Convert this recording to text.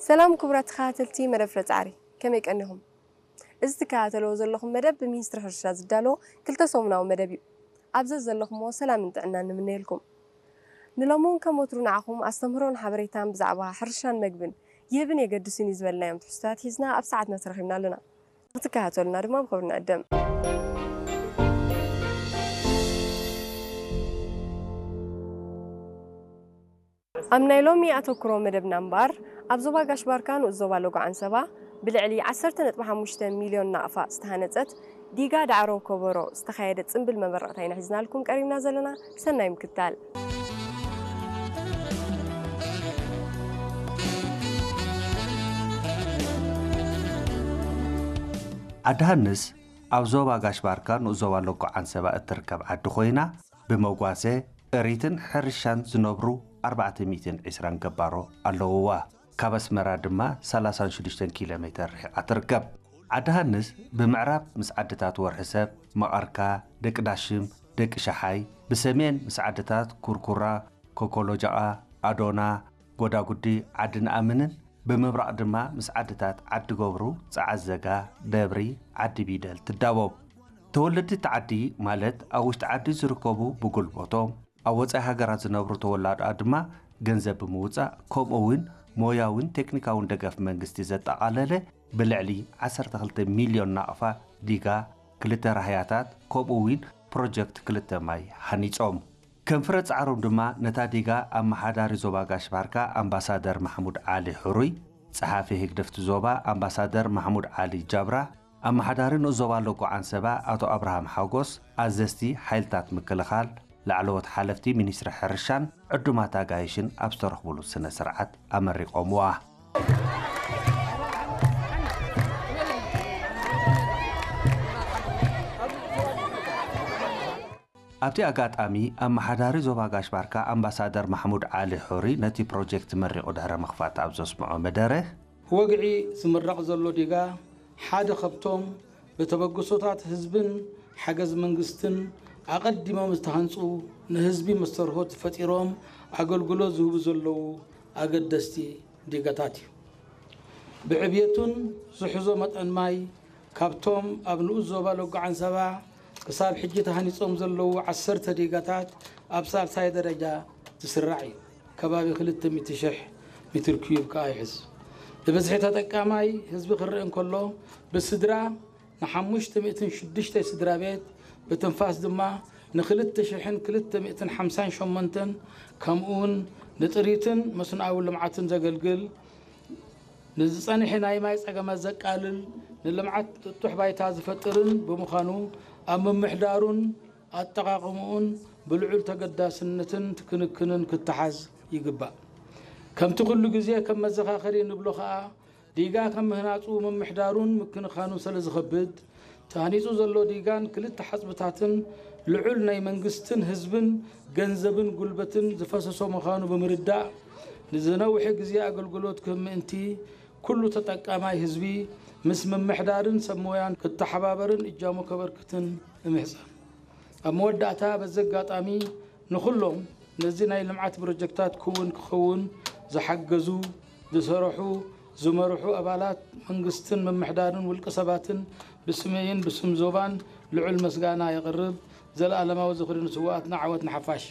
ሰላም ክቡራት ተኸታተልቲ መደብ ፍረ ጻዕሪ፣ ከመይ ቀኒኹም? እዚ ትከታተልዎ ዘለኹም መደብ ብሚኒስትሪ ሕርሻ ዝዳሎ ክልተ ሰሙናዊ መደብ እዩ። ኣብ ዘዘለኹምዎ ሰላምን ጥዕናን ንምነየልኩም። ንሎሚ እውን ከም ወትሩ ንዓኹም ኣስተምህሮን ሓበሬታን ብዛዕባ ሕርሻን መግብን ይህብን የገድስን እዩ ዝበልናዮም ትሕዝቶታት ሒዝና ኣብ ሰዓትና ተረኺብና ኣለና። ክትከታተሉና ድማ ብኽብሪ ንዕድም። ኣብ ናይ ሎሚ ኣተኩሮ መደብና እምበኣር፣ ኣብ ዞባ ጋሽ ባርካ ንኡስ ዞባ ሎጎ ዓንሰባ ብልዕሊ ዓሰርተ ነጥቢ ሓሙሽተ ሚልዮን ናቕፋ ዝተሃነጸት ዲጋ ዳዕሮ ኮቦሮ ዝተኻየደ ጽምብል መመረቕታ ኢና ሒዝናልኩም ቀሪብና ዘለና። ሰናይ ምክትታል። ዓዲ ሃንስ ኣብ ዞባ ጋሽ ባርካ ንኡስ ዞባ ሎጎ ዓንሰባ እትርከብ ዓዲ ኮይና፣ ብመጓሰ፣ ጥሪትን ሕርሻን ዝነብሩ ኣርባዕተ ሚእትን ዕስራን ገባሮ ኣለውዋ። ካብ ኣስመራ ድማ ሰላሳን ሽዱሽተን ኪሎ ሜተር ርሒቓ ትርከብ። ዓዲ ሃንስ ብምዕራብ ምስ ዓድታት ወርሒ ሰብ፣ መቐርካ፣ ደቂ ዳሽም፣ ደቂ ሸሓይ፣ ብሰሜን ምስ ዓድታት ኩርኩራ፣ ኮኮሎጃቓ፣ ኣዶና፣ ጎዳጉዲ፣ ዓዲ ንኣምንን ብምብራቕ ድማ ምስ ዓድታት ዓዲ ገብሩ፣ ጸዓዘጋ፣ ደብሪ፣ ዓዲ ቢደል ትዳወብ። ተወለድቲ እቲ ዓዲ ማለት ኣብ ውሽጢ ዓዲ ዝርከቡ ብጉልበቶም፣ ኣብ ወጻኢ ሃገራት ዝነብሩ ተወላዶኣ ድማ ገንዘብ ብምውጻእ፣ ከምኡ እውን ሞያውን ቴክኒካውን ደገፍ መንግስቲ ዘጠቓለለ ብልዕሊ ዓሰርተ ክልተ ሚልዮን ናቕፋ ዲጋ፣ ክልተ ራህያታት፣ ከምኡ እውን ፕሮጀክት ክልተ ማይ ሃኒጾም። ከም ፍረ ጻዕሮም ድማ ነታ ዲጋ ኣመሓዳሪ ዞባ ጋሽ ባርካ ኣምባሳደር ማሕሙድ ዓሊ ሕሩይ፣ ጸሓፊ ህግደፍቲ ዞባ ኣምባሳደር ማሕሙድ ዓሊ ጃብራ፣ ኣመሓዳሪ ንኡስ ዞባ ሎጎ ዓንሰባ ኣቶ ኣብርሃም ሓጎስ፣ ኣዘዝቲ ሓይልታት ምክልኻል፣ ላዕለዎት ሓለፍቲ ሚኒስትሪ ሕርሻን ዕዱማት ኣጋይሽን ኣብ ዝተረኽቡሉ ስነ ስርዓት ኣመሪቖምዋ። ኣብቲ ኣጋጣሚ ኣመሓዳሪ ዞባ ጋሽ ባርካ ኣምባሳደር ማሕሙድ ዓሊ ሑሪ ነቲ ፕሮጀክት መሪቑ ድሕሪ ምኽፋት ኣብ ዘስምዖ መደረ፣ ወግዒ ዝምረቕ ዘሎ ዲጋ ሓደ ካብቶም ብተበግሶታት ህዝብን ሓገዝ መንግስትን ኣቐዲሞም ዝተሃንፁ ንህዝቢ መስተርሆት ፈጢሮም ኣገልግሎት ዝህቡ ዘለዉ ኣገደስቲ ዲጋታት እዩ። ብዕብየቱን ዝሕዞ መጠን ማይ ካብቶም ኣብ ንኡስ ዞባ ሎጎ ዓንሰባ ክሳብ ሕጂ ተሃኒጾም ዘለዉ ዓሰርተ ዲጋታት ኣብ ሳልሳይ ደረጃ ዝስራዕ እዩ። ከባቢ ክልተ ሚእቲ ሽሕ ሜትር ኪዩብ ከኣ ይሕዝ። ብብዝሒ ተጠቃማይ ህዝቢ ክረአ እንከሎ ብስድራ ንሓሙሽተ ሚእትን ሽዱሽተ ስድራ ቤት ብትንፋስ ድማ ንክልተ ሽሕን ክልተ ሚእትን ሓምሳን ሸሞንተን ከምኡውን ንጥሪትን መስኖኣዊ ልምዓትን ዘገልግል ንዝጸንሐ ናይ ማይ ጸገማት ዘቃልል፣ ንልምዓት ጥጡሕ ባይታ ዝፈጥርን ብምዃኑ፣ ኣብ ምምሕዳሩን ኣጠቓቕምኡን ብልዑል ተገዳስነትን ክንክንን ክተሓዝ ይግባእ። ከምቲ ኩሉ ግዜ ከም መዘኻኸሪ ንብሎ ከኣ፣ ዲጋ ከም ምህናጹ፣ ምምሕዳሩን ምክንኻኑን ስለ ዝኸብድ፣ ተሃኒጹ ዘሎ ዲጋን ክልተ ሓጽብታትን ልዑል ናይ መንግስትን ህዝብን ገንዘብን ጉልበትን ዝፈሰሶ ምዃኑ ብምርዳእ፣ ንዝነውሐ ግዜ ኣገልግሎት ክህብ ምእንቲ፣ ኩሉ ተጠቃማይ ህዝቢ ምስ ምምሕዳርን ሰብ ሞያን ክተሓባበርን እጃሙ ከበርክትን እምሕጸን። ኣብ መወዳእታ በዚ ኣጋጣሚ ንኹሎም ነዚ ናይ ልምዓት ፕሮጀክታት ክውን ክኸውን ዝሓገዙ፣ ዝሰርሑ፣ ዝመርሑ ኣባላት መንግስትን ምምሕዳርን ውልቀ ሰባትን ብስመይን ብስም ዞባን ልዑል መስጋና የቕርብ። ዘለኣለማዊ ዝኽሪ ንስውኣትና፣ ዓወት ንሓፋሽ።